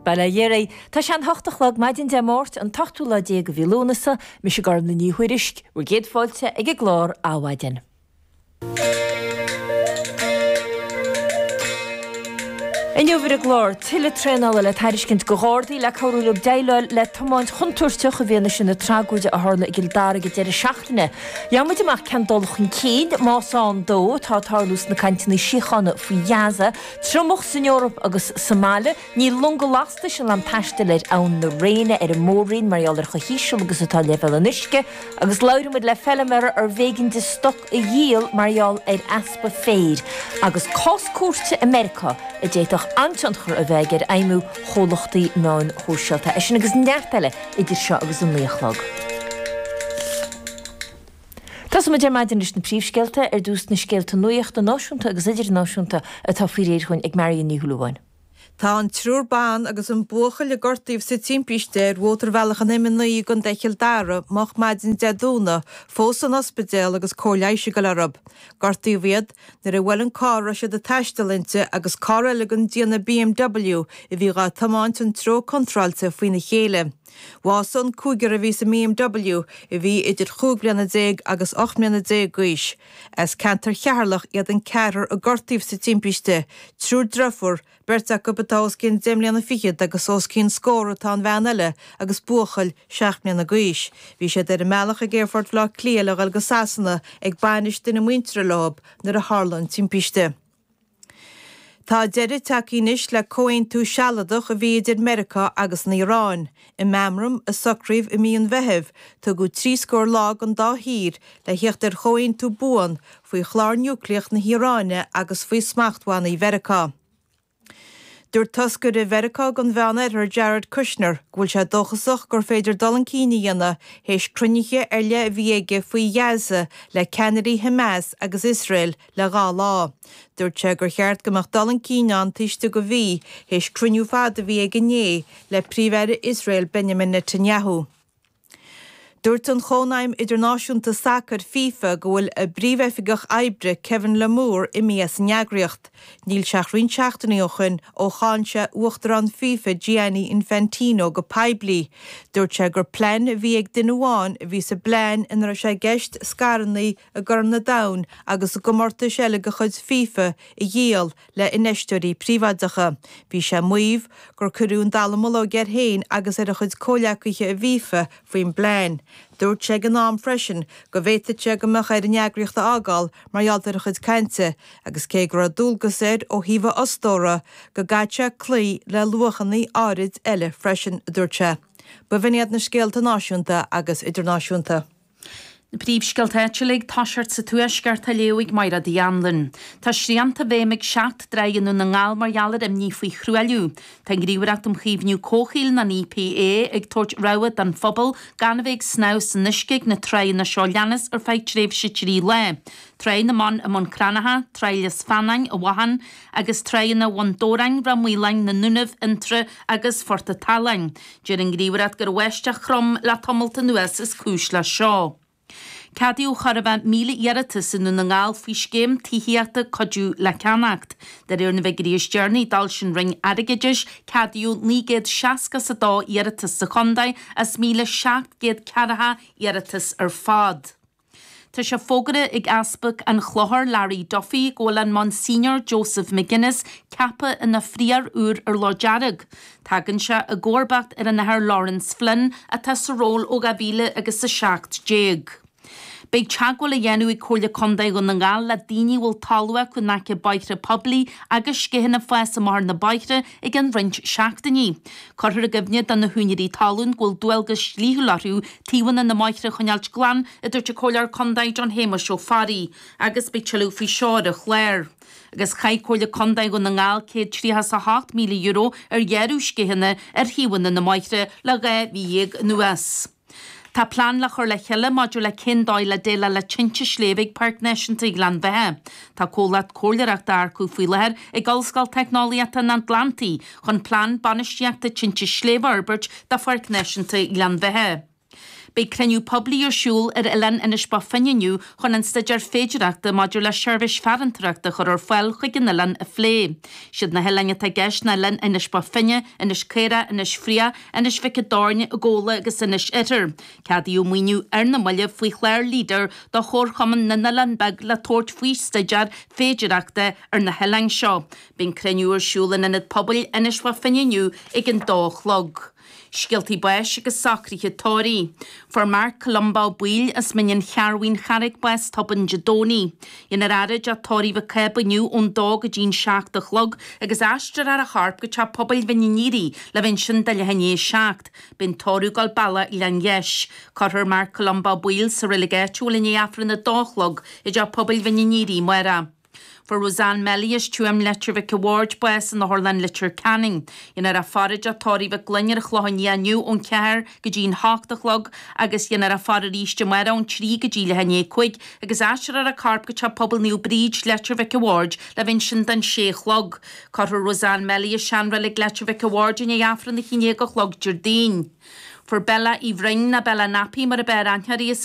Bail ó Dhia oraibh. Tá sé an hocht a chlog, maidin Dé Máirt, an t-ochtú lá déag de mhí Lúnasa. Mise Gormlaith Ní Thuairisg, bhur gcéad fáilte ag an gclár Adhmhaidin. Inniu ar an gclár, tuilleadh traenála le tairiscint do Ghardaí le cabhrú leo déileáil le tiomáint chontúirteach i bhfianaise na tragóide a tharla i gCill Dara ag an deireadh seachtaine. Gheobhaidh muid amach cén dul chun cinn, más ann dó, atá ag tarlú sna cainteanna síochána faoi Ghaza, triomach san Eoraip agus sa mbaile. Níl longa lastais in ann taisteal ar Abhainn na Réine ar an Mór-Roinn mar gheall ar chomh híseal agus atá leibhéal an uisce, agus labhróidh muid le feilméara arbh éigean di stoc a dhíol mar gheall ar easpa féir, agus cás cúirte i Meiriceá a d'fhéadfadh an-tionchar a bheith aige ar fheidhmiú chomhlachtaí meáin shóisialta. É sin agus neart eile idir seo agus an 9 a chlog. Tosóidh muid ar maidin leis na príomhscéalta, ar dtús na scéalta nuachta náisiúnta agus idirnáisiúnta atá faoi réir chugainn ag Marion Ní Shúilleabháin. Tá an triúr ban agus an buachaill a gortaíodh sa timpiste ar mhótarbhealach an M9 i gContae Chill Dara moch maidin Dé Domhnaigh fós san ospidéal agus cóir leighis ag dul orthu. Gortaíodh iad nuair a bhuail an carr a raibh siad ag taisteal inti agus carr eile den déanamh BMW a bhí dhá tiomáint an treo contráilte faoina chéile. Bhásaigh an cúigear a bhí sa mBMW a bhí idir chúig bliana déag agus 18 mbliana d'aois. As ceantar Cheatharlach iad an ceathrar a gortaíodh sa timpiste, triúr driofúr, beirt acu atá os cionn deich mbliana fichead agus os cionn scór atá an bhean eile agus buachaill seacht mbliana d'aois. Bhí siad ar a mbealach ag Aerfort Bhaile Átha Cliath le dhul go Sasana ag bainis duine muinteartha leo nuair a tharla an timpiste. Tá deireadh tagtha anois le comhaontú sealadach a bhí idir Meiriceá agus an Iaráin. I meamram a socraíodh i mí an Mheithimh, tugadh trí scór lá don dá thír le theacht ar chomhaontú buan faoi chlár núicléach na hIaráine agus faoi smachtbhannaí Mheiriceá. Dúirt toscaire Mheiriceá don Mheánoirthear Jared Kushner go bhfuil sé dóchasach gur féidir dul chun cinn a dhéanamh théis cruinnithe ar leith a bhí aige faoi Ghaza le ceannairí Hamas agus Iosrael le dhá lá. Dúirt sé gur cheart go mbeadh dul chun cinn ann taobh istigh de mhí théis cruinniú fada a bhí aige inné le Príomh-Aire Iosrael Benjamin Netanyahu. Dúirt an Chónaidhm Idirnáisiúnta Sacair, FIFA, go bhfuil a bpríomhoifigeach oibre, Kevin Lamour, imithe as an eagraíocht. Níl sé ach roinnt seachtainí ó shoin ó cháin sé Uachtarán FIFA Gianni Infantino go poiblí. Dúirt sé gur plean a bhí ag duine amháin a bhí sa bplean ina raibh sé i gceist scaireanna i gCorn an Domhain agus i gcomórtais eile de chuid FIFA a dhíol le infheisteoirí príobháideacha. Bhí sé ag maíomh gur cuireadh an dallamullóg air féin agus ar a chuid comhleacaithe i bhFIFA faoin bplean. Dúirt sé ag an am freisin go bhféadfadh sé go mbeadh air an eagraíocht a fhágáil mar gheall ar a chuid cainte agus cé go raibh dualgas air ó thaobh a fhostóra go gcaithfeadh sé cloí le luachanna áirid eile freisin, a dúirt sé. B'in iad na scéalta náisiúnta agus idirnáisiúnta. Na príomhscéalta áitiúla ag toiseacht sa Tuaisceart á léamh ag Mairéad Uí Anluain. Tá srianta i bhfeidhm ag 7 dtráigh i nDún na nGall mar gheall ar imní faoi thruailliú. Tá an Ghníomhaireacht um Chaomhnú Comhshaoil, an EPA, ag tabhairt rabhadh don phobal gan a bheith ag snámh san uisce ag na tráigheanna seo leanas ar feadh tréimhse 3 lá, Tráigh na mBan i mBun Cranncha, Tráigh Lios Feanáin i bhFathan, agus tráigheanna Bhun Dobhráin, Ráth Maoláin, na nDúnaibh, Fhionntrá agus Phort a' tSaláin. Deir an Ghníomhaireacht gur bháisteach throm le tamalt anuas is cúis leis seo. Ceadaíodh chóir a bheith 1,000 iarratas i nDún na nGall faoi scéim tithíochta Cuidiú le Ceannacht. De réir na bhfigiúirí is deireanaí a d'fhoilsigh an Roinn Airgeadais, ceadaíodh 962 iarratas sa chontae as 1,740 iarratas ar fad. Tá sé fógartha ag Easpag an Chlochair, Larry Duffy, go bhfuil an Monsignor Joseph McGuinness ceaptha ina phrióir úr ar Loch Dearg. Tagann sé i gcomharbacht ar an Athair Laurence Flynn atá sa ról ó 2000 agus 17. Beidh teagmháil á dhéanamh ag Comhairle Contae Dhún na nGall le daoine a bhfuil talamh acu in aice bóithre poiblí agus sceitheanna ag fás amach ar na bóithre i gceann roinnt seachtainí. Cuirfear i gcuimhne do na húinéirí talún go bhfuil dualgas dlíthiúil orthu taobhanna na mbóithre a choinneáilt glan, a dúirt an Comhairleoir Contae John Shéamuis Ó Fearraigh, agus beidh tuilleadh faoi seo ar an chlár. Agus chaith Comhairle Contae Dhún na nGall €138,000 ar ghearradh sceitheanna ar thaobhanna na mbóithre le 12 mhí anuas. Tá plean le chur le chéile maidir le cén dóigh le déileáil le tinte sléibhe ag Páirc Náisiúnta Ghleann Bheatha. Tá comhlacht comhairleoireachta á earcú faoi láthair ag Ollscoil Teicneolaíochta an Atlantaigh chun plean bainistíochta tinte sléibhe a fhorbairt do Pháirc Náisiúnta Ghleann Bheatha. Beidh cruinniú poiblí ar siúl ar oileán Inis Bó Finne inniu chun an staidéar féidireachta maidir le seirbhís farantóireachta a chur ar fáil chuig an oileán a phlé. Siad na hoileáin atá i gceist ná oileán Inis Bó Finne, Inis Caorach, Inis Fraoch, Inis Mhic an Doirn, Gabhla agus Inis Oirthir. Ceadaíodh maoiniú ar na mallaibh faoi chlár Leader do Chomharchumann na nOileán Beag le tabhairt faoi staidéar féidireachta ar na hoileáin seo. Beidh an cruinniú ar siúl in Ionad Pobail Inis Bó Finne inniu ag an dó a chlog. Scéaltaí báis agus socruithe tórraimh. Fuair Marc Columba Ó Baoill as Mín an Chearrbhaigh an Charraig bás tobann Dé Domhnaigh. Dhéanfar a fhaire i dteach tórraimh Mhic Cába inniu ón dó go dtí'n 7 a chlog agus aistreofar a chorp go teach pobail Mhín an Fhíoraigh le bheith ansin do leath i ndiaidh a 7. Beidh an tórramh ag dul bealach Ghleann Gheis. Cuirfear Marc Columba Ó Baoill sa reilig áitiúil i ndiaidh Aifreann a dó a chlog i dteach pobail Mhín an Fhíoraigh amárach. Fuair Roseanne Melly as Tuaim, Leitir Mhic a' Bhaird, bás in Otharlann Leitir Ceanainn. Dhéanfar a faire i dteach tórraimh Mhic Gloinn ar an Chlochán Liath inniu ón cheathair go dtí an hocht a chlog agus dhéanfar a faire arís amárach ón trí go dtí leath i ndiaidh a cúig agus aistreofar a corp go Teach Pobail Naomh Bríd, Leitir Mhic a' Bhaird le bheith ansin don sé a chlog. Cuirfear Roseanne Melly i seanreilig Leitir Mhic a' Bhaird i ndiaidh Aifreann a haon déag a chlog Déardaoin. Fuair Bella Uí Bhroin, nó Bella Nappy mar ab fhearr aithne uirthi, as.